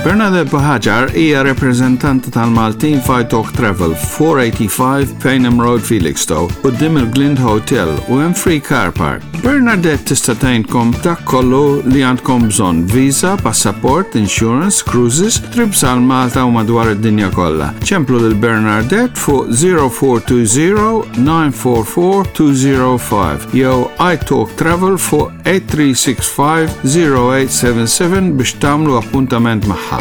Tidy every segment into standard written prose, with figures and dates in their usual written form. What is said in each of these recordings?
Bernadette Buhagiar hija repreżentanta tal-Maltin f'Italk Travel, 485 Payneham Road, Felixstowe, quddiem il-Glind Hotel u hemm free car park. Bernadette tista' tgħinkom dak kollu li għandkom bżonn, visa, passaport, insurance, cruises, trips għal Malta u madwar id-dinja kollha. Ċemplu lil Bernadette fuq 0420 944 205 jew iTalk Travel fuq 8365 0877 biex tagħmlu appuntament magħha.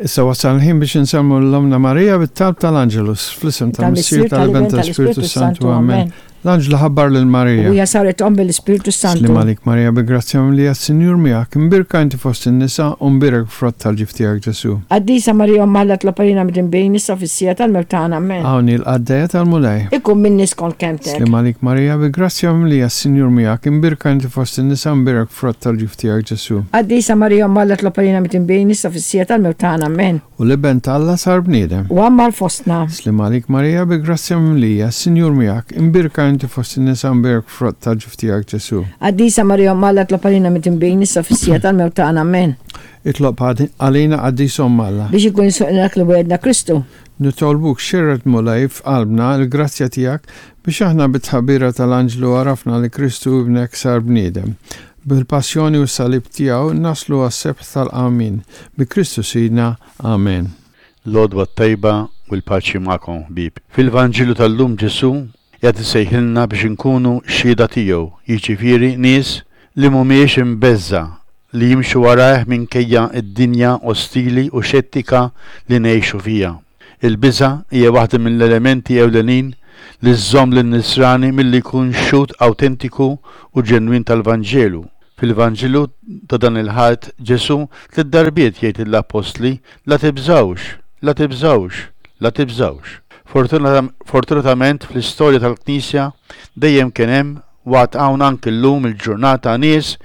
Issa wasal il-ħin biex insemmu l-Omna Marija bit-talb tal-Angelus, fl-isem tal-Missier tal-Iben tal-Ispirtu Santu. Amen. L-anġlu ħabbar lil Marija. U hija saret omm mill-Ispirtu Santu. Sliem għalik Marija bi grazzja mimlija s-Sinjur miegħek, imbierka inti fost in-nisa u mbierek frott tal-ġuf tiegħek Ġesù. Qaddisa Marija Omm Alla tlob għalina midinbin issa u fis-siegħa tal-mewt tagħna. Amen. Hawn hi l-qaddejja tal-Mulej. Ikun minni skont kelmtek. Sliem għalik Marija bi grazzja mimlija s-Sinjur miegħek, imbierka inti fost in-nisa u mbierek frott tal-ġuf tiegħek Ġesù. Qaddisa Marija Omm Alla tlob għalina midinbin issa u fis-siegħa tal-mewt tagħna. Amen. U l-Iben ta' Alla sar bniedem. U għammar fostna. Sliem għalik Marija bi grazzja mimlija, s-Sinjur miegħek, imbierka inti fost in-nisa mbierek frott tal-ġuf tiegħek Ġesù. Qaddisa Marija Omm Alla tlob għalina midinbin issa u fis-siegħa tal-mewt tagħna. Amen. Itlob għalina Qaddis Omm Alla. Biex ikun jisħoqilna dak li wegħedna Kristu. Nitolbuk xerred Mulej f'qalbna l-grazzja tiegħek biex aħna bit-tħabbira tal-anġlu għarafna li Kristu Ibnek sar bniedem. Bil-passjoni u s-salib tiegħu naslu għas-sebħ tal-qawmien. Bi Kristu Sidna. Amen. L-għodwa t-tajba u l-paċi magħkom ħbieb. Fil-Vanġelu tal-lum Ġesù qiegħed isejħilna biex inkunu xhieda tiegħu, jiġifieri nies li mhumiex imbeżża' li jimxu warajh minkejja d-dinja ostili u xettika li ngħixu fiha. Il-biża' hija waħda mill-elementi ewlenin li żżomm lin-Nisrani milli jkun xhud awtentiku u ġenwin tal-Vanġelu. Fil-Vanġelu ta' dan il-Ħadd, Ġesù tliet darbiet jgħid lill-appostli, La tibżgħux, la tibżgħux, la tibżgħux. Fortunatament fl-istorja tal-Knisja dejjem kien hemm U għad hawn anki llum il-ġurnata nies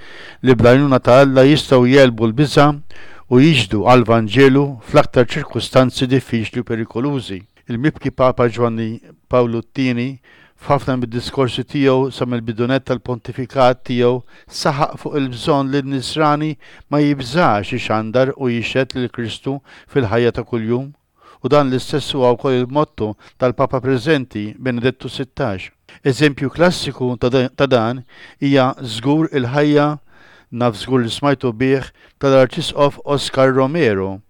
li bl-għajnuna ta' Alla jistgħu jegħlbu l-biża' u jixhdu għall-Vanġelu fl-aktar ċirkustanzi diffiċli u perikolużi. Il-mibki Papa Ġwanni Pawlu t-Tieni f'ħafna mid-diskorsi tiegħu sa mill-bidu nett tal-pontifikat tiegħu saħaq fuq il-bżonn li n-Nisrani ma jibżax ixandar u jixhed lil Kristu fil-ħajja ta' kuljum. U dan l-istess huwa wkoll il-motto tal-Papa preżenti, Benedettu 16. Eżempju klassiku ta' dan hija żgur il-ħajja, naf żgur li smajtu bih, tal-Arċisqof Oscar Romero,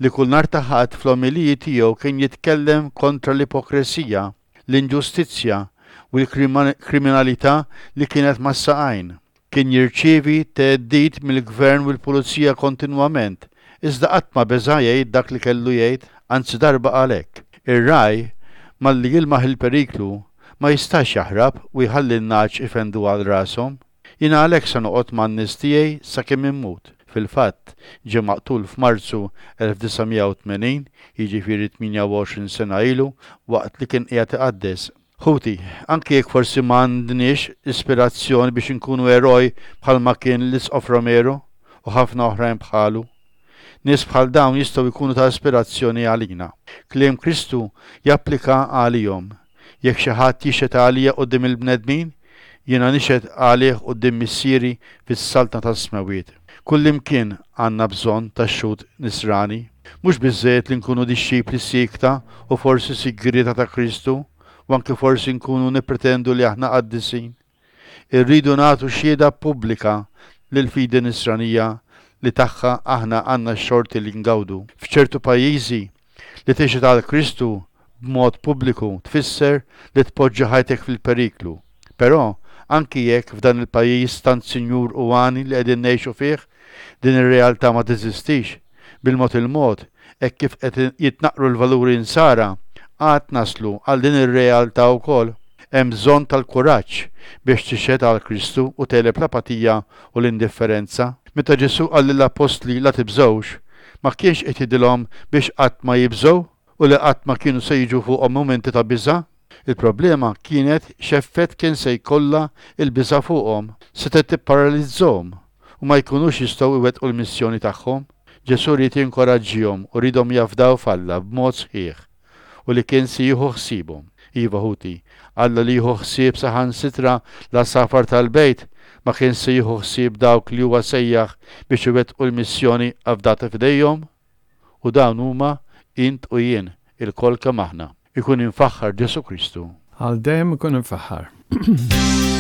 li kull nhar ta' Ħadd fl-omeliji tiegħu kien jitkellem kontra l-ipokresija, l-inġustizzja u l-kriminalità li kienet mas-saqajn. Kien jirċievi theddid mill-gvern u l-pulizija kontinwament, iżda qatt ma beża' jgħid dak li kellu jgħid, anzi darba qal hekk, Ir-ragħaj, malli jilmaħ il-periklu, ma jistax jaħrab u jħalli n-nagħaġ ifendu għal rashom. Jiena għalhekk se noqgħod man-nies tiegħi sakemm immut. Fil-fatt, ġie maqtul f'Marzu 1980, jiġifieri 28 sena ilu, waqt li kien qiegħed iqaddes. Ħuti, anki jekk forsi ma għandniex ispirazzjoni biex inkunu eroj bħalma kien l-Isqof Romero u ħafna oħrajn bħalu, nies bħal dawn jistgħu jkunu ta' ispirazzjoni għalina. Kliem Kristu japplika għalihom, Jekk xi ħadd jixhed għalija quddiem il-bnedmin, jiena nixhed għalih quddiem Missieri fis-Saltna tas-Smewwiet. Kullimkien għandna bżonn ta' xhud Nisrani. Mhux biżżejjed li nkunu dixxipli siekta u forsi sigrieta ta' Kristu u anki forsi nkunu nippretendu li aħna qaddisin. Irridu nagħtu xhieda pubblika lill-fidi Nisranija li tagħha aħna għandna x-xorti li ngawdu. F'ċertu pajjiżi, li tixhed għal Kristu b'mod pubbliku tfisser li tpoġġi ħajtek fil-periklu. Però, anki jekk f'dan il-pajjiż tant sinjur u għani li qegħdin ngħixu fih, din ir-realtà ma teżistix, bil-mod il-mod, hekk kif qed jitnaqqru l-valuri Nsara, għad naslu għal din ir-realtà wkoll. Hemm bżonn tal-kuraġġ biex tixhed għal Kristu u tegħleb l-apatija u l-indifferenza. Meta Ġesù qal lill-appostli la tibżgħux, ma kienx qed jgħidilhom biex qatt ma jibżgħu u li qatt ma kienu se jiġu fuqhom mumenti ta' biża'. Il-problema kienet x'effett kien se jkollha l-biża' fuqhom. Setgħet tipparalizzahom u ma jkunux jistgħu jwettqu l-missjoni tagħhom. Ġesù ried jinkoraġġihom u riedhom jafdaw f'Alla b'mod sħiħ. u li kien se jieħu ħsiebhom. Iva ħuti, Alla li jieħu ħsieb saħansitra l-għasafar tal-bejt, ma kienx se jieħu ħsieb dawk li huwa sejjaħ biex iwettqu l-missjoni afdata f'idejhom? U dawn huma int u jien, ilkoll kemm aħna. Ikun imfaħħar Ġesù Kristu. Għal dejjem ikun imfaħħar.